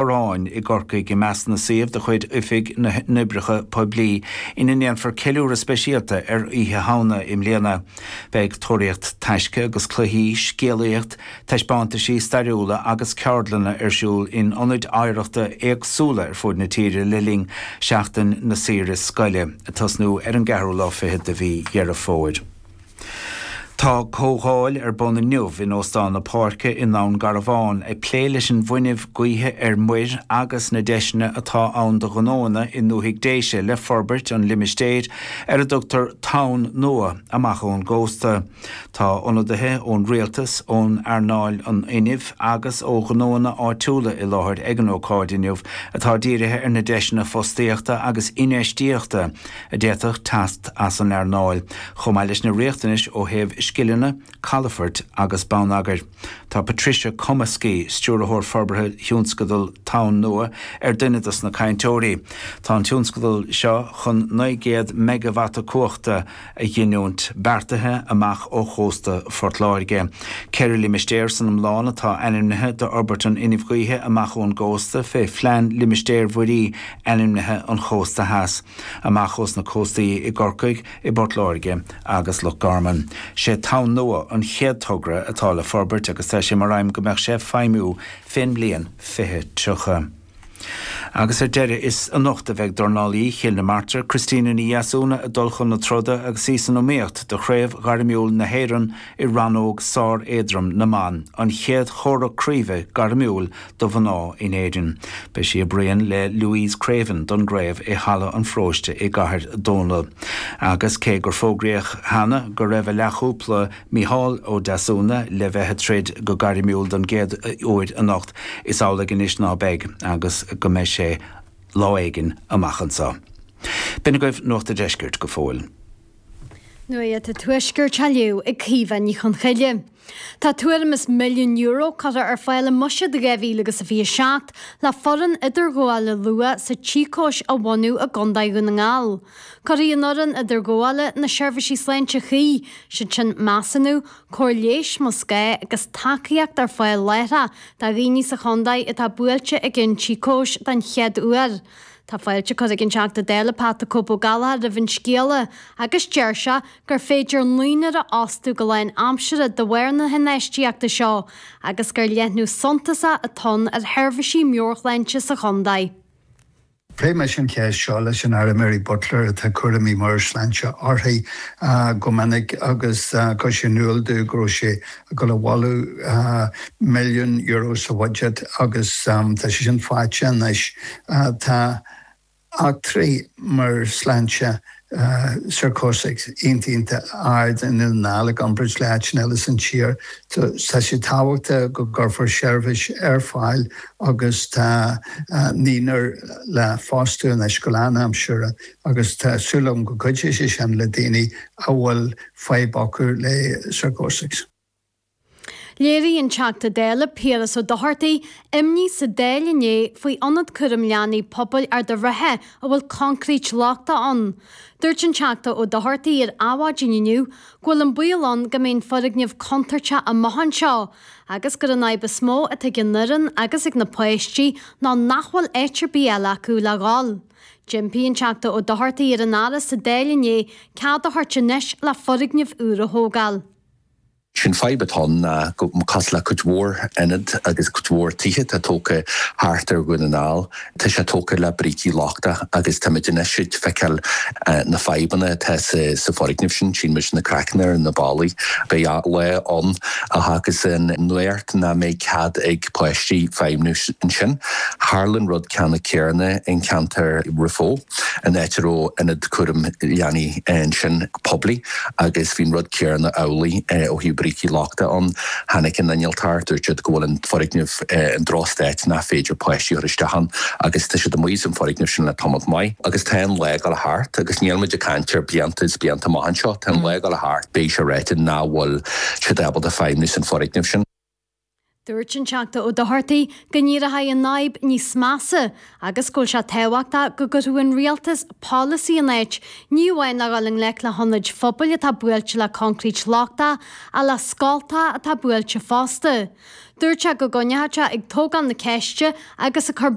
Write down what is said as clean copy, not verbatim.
Corráin i gCorcaigh i measc na suíomh de chuid Oifig na nOibreacha Poiblí ina ndéanfar ceiliúradh speisialta ar Oíche Shamhna i mbliana. Beidh tóraíocht taisce agus cluichí, scéalaíocht, taispeántaisí stairiúla agus ceardlanna ar siúl in ionaid oidhreachta éagsúla ar fud na tíre le linn Seachtain na Saoire Scoile, ag tosnú ar an gceathrú lá fichead de mhí Dheireadh Fómhair. Tá comhdháil ar bun inniu in Óstán na Páirce i nDún Garbhán ag plé leis an bhfuinneamh gaoithe ar muir agus na deiseanna atá ann do ghnóanna i ndúthaigh Déise le forbairt an limistéir ar a dtugtar Tonn Nua amach ón gcósta. Tá ionadaithe ón rialtas, ón earnáil an fhuinnimh agus ó ghnóanna áitiúla i láthair ag an ócáid inniu atá dírithe ar na deiseanna fostaíochta agus infheistíochta a d'fhéadfadh teacht as an earnáil, chomh maith leis na riachtanais ó thaobh scileanna, calafoirt agus bonneagair. Tá Patricia Cummiskey, Stiúrthóir Forbartha Thionscadal Tonn Nua, ar duine dos na cainteoirí. Tá an tionscadal seo chun 900 meigeavata cumhachta a ghiniúint, beartaithe amach ó chósta Phort Láirge. Ceithre limistéar san iomlán atá ainmnithe d'fhorbairt an fhuinnimh ghaoithe amach ón gcósta fé Phlean Limistéir Mhuirí Ainmnithe an Chósta Theas. amach ós na cóstaí i gCorcaigh, i bPort Láirge agus Loch Garman. Sé Tonn Nua an chéad togra atá le forbairt agus tá sé mar aidhm go mbeadh sé ag feidhmiú fén mbliain 2030. Agus ar deireadh, is anocht a bheidh dornálaí Chill na Martra, Christina Ní Dheasúna ag dul chun na troda agus í san iomaíocht do Chraobh Ghairmiúil na hÉireann i rannóg sár-éadrom na mban, an chéad chomhrac craoibhe gairmiúil do mhná in Éirinn. Beidh sí ag bruíon le Louise Craven don gcraobh i Halla an Pharóiste i gCathair Dónall. Agus cé gur fógraíodh cheana go raibh a leathchúpla Micheál Ó Deasúna le bheith ag troid go gairmiúil don gcéad uair anocht, is amhlaidh anois ná beidh agus go mbeidh sé lá éigin amach anseo. B'in agaibh Nuacht a' Deiscirt go fóill. Nuacht an Tuaiscirt á léamh ag Caoimhe Ní Chonchoille. Tá tuairim is €1 milliún curtha ar fáil i mBuiséad 2027 le foireann idirghabhála luath sa tsíocóis a bhunú i gContae Dhún na nGall. Cuirfidh an fhoireann idirghabhála na seirbhísí sláinte cuí, siad sin measúnú, cóir leighis más gá agus tacaíocht ar fáil láithreach do dhaoine sa chontae atá buailte ag an tsíocóis den chéad uair. Tá fáilte curtha ag an Teachta Dála Pat 'The Cope' Ó Gallchóir roimh an scéala agus deir sé gur féidir naonúr a fhostú go lán aimsire de bharr na hinfheistíochta seo agus gur leathnú suntasach atá ann ar sheirbhísí meabhairshláinte sa chontae. Phléigh mise an cheist seo leis an Aire Mary Butler, atá cúraimí meabhairshláinte uirthi, go minic agus chuir sí in iúl domh go raibh sé ag dul a mholadh €1 milliún sa bhuiséad agus tá sé sin faighte anois. Tá eachtraí meabhairshláinte síocóiseach iontach iontach ard i nDún na nGall i gcomparáid le áiteanna eile san tír. Tá sé tábhachtach go gcuirfear seirbhís ar fáil agus tá naonúr le fostú anois go lánaimseartha agus tá súil agam go gcuideoidh sé sin le daoine a bhfuil fadhb acu le síocóis. Léirigh an Teachta Dála Piaras Ó Dochartaigh imní sa Dáil inné faoi Ionad Cúraim Leanaí Pobail Ard a' Rátha a bhfuil concrete lochtach ann. Dúirt an Teachta Ó Dochartaigh ar Adhmhaidin inniu go bhfuil an baol ann go mbeidh an foirgneamh contúirteach amach anseo agus gur an fhadhb is mó atá ag an fhoireann agus ag na páistí ná nach bhfuil áit ar bith eile acu le dhul. D'impigh an Teachta Ó Dochartaigh ar an Aire sa Dáil inné cead a thabhairt anois le foirgneamh úr a thógáil. Sé'n fadhb atá ann ná go, cosúil le cuid mhór ionad agus cuid mhór tithe atá tógtha thart ar Dhún na nGall, tá sé tógtha le brící lochtach agus táimid anois ag feiceáil na fadhbanna atá sa foirgneamh sin, tchíonn muid na craiceanna ar na ballaí. Beidh lá ann a thiocfas an nuacht nach mbeidh cead ag páistí feidhmniú ansin. Tharla an rud ceanna céanna in ceantar Raphoe. an áit a raibh ionad cúraim leanaí ansin poiblí agus bhí an rud céanna amhlaidh ó thaobh brící lochta ann. Tháinig an innealtóir, dúirt siad go bhfuil an foirgneamh i ndrochstaid nach féidir páistí a chur isteach ann agus tá siad amuigh as an foirgneamh sin le tamalt maith. Agus tá an lá ag dul thart agus níl muid ag caint ar blianta is blianta amach anseo, tá an lá ag dul thart, beidh sé ráite nach bhfuil siad ábalta feidhmiú san foirgneamh sin. Dúirt an Teachta Ó Dochartaigh go n-éireoidh an fhadhb níos measa agus go bhfuil sé tábhachtach go gcuirfeadh an Rialtas polasaí in áit, ní amháin le dhul i ngleic le hionaid phobail atá buailte le coincréit lochtach ach le scoltacha atá buailte fosta. Dúirt sé go gcoinneoidh sé ag tógáil na ceiste agus ag cur.